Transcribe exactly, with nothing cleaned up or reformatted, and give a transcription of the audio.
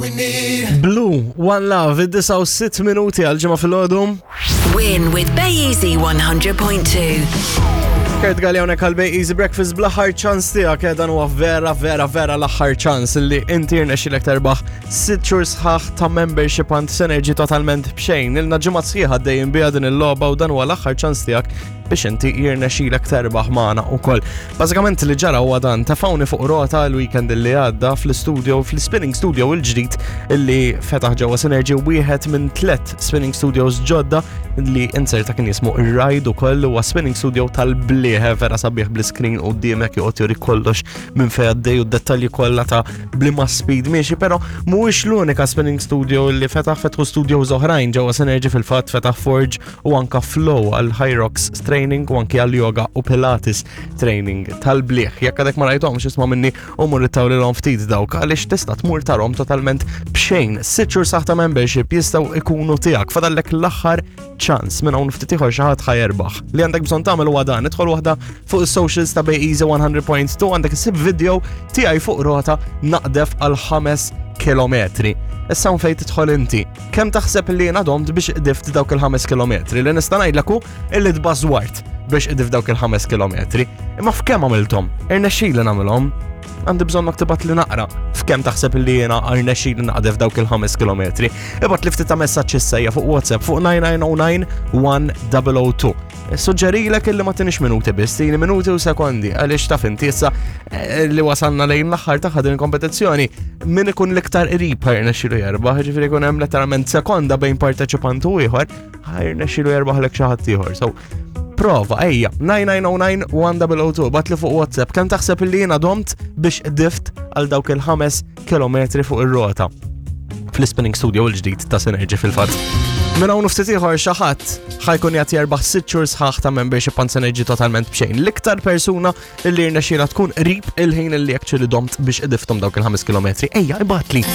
we need. Blue, One Love, id-disgħa u sitt minuti għal ġimgħa filgħodu. Win with Bay Easy one hundred point two. Kurt Galea hawnhekk għal Bay Easy Breakfast bl-aħħar ċans tiegħek. eh, dan huwa vera vera vera l-aħħar ċans li inti rnexxilek terbaħ sitt xhur sħaħ ta' membership għand Synergy totalment b'xejn. Ilna ġimgħa sħiħa dejjem biha din il-logħba u dan huwa l-aħħar ċans tiegħek biex inti jirnexxilek terbaħ magħna ukoll. Bażikament li ġara huwa dan: tefawni fuq rota l-weekend li għadda fl-studio, fl-spinning studio il-ġdid illi fetaħ ġewwa Synergy, wieħed minn tlet spinning studios ġodda li inserta kien jismu ir-Ride ukoll. Huwa spinning studio tal-blieħ, vera sabiħ, bl-screen quddiemek joqgħod juri kollox minn fejn għaddej u d-dettalji kollha ta' bliema speed miexi, però mhuwiex l-unika spinning studio li fetaħ. Fetħu studios oħrajn ġewwa Synergy fil-fatt, fetaħ Forge u anka Flow għal Hyrox training u anki għal yoga u Pilates training tal-blieħ. Jekk għadek ma rajthomx, isma' minni u mur ittawlilhom ftit dawk, għaliex tista' tmur tarahom totalment b'xejn. Sitt xhur sħaħ ta' membership jistgħu ikunu tiegħek. Fadallek l-aħħar ċans, minn hawn ftit ieħor xi ħadd ħa jerbaħ. Li għandek bżonn tagħmel huwa dan: idħol waħda fuq is-socials ta' Bay Easy one hundred point two, għandek issib video tiegħi fuq rota naqdef għal ħames kilometri. Issa hawn fejn tidħol inti. Kemm taħseb li jiena domt biex qdift dawk il-ħames kilometri? Li nista' ngħidlek hu illi tbażwart biex qdift dawk il-ħames kilometri. Imma f'kemm għamilthom? Irnexxieli nagħmilhom? Għandi bżonnok tibgħatli naqra. F'kemm taħseb li jiena rnexxieli naqdef dawk il-ħames kilometri? Ibgħatli ftit ta' messaġġ issa fuq WhatsApp fuq nine nine zero nine one zero zero two. Suġġerilek illi ma tinix minuti biss, tini minuti u sekondi, għaliex taf inti issa eh, li wasalna lejn l-aħħar ta' din il-kompetizzjoni, min ikun l-iktar qrib ħa jirnexxilu jerbaħ, ġifieri jkun hemm letteralment sekonda bejn parteċipant u ieħor, ħa jirnexxilu jerbaħ lek xi ħadd ieħor. So, prova, ejja, nine nine zero nine one zero zero two, ibgħatli fuq WhatsApp, kemm taħseb illi jiena domt biex qdift għal dawk il-ħames kilometri fuq ir-rota fl-spinning studio l-ġdid ta' Synergy fil-fatt? Minn hawn ftit ieħor xi ħadd ħa jkun qed jerbaħ sitt xhur sħaħ ta' membership għand Synergy totalment b'xejn. L-iktar persuna li rnexxiela tkun qrib il-ħin li actually domt biex qdifthom dawk il-ħames kilometri. Ejja, ibgħatli.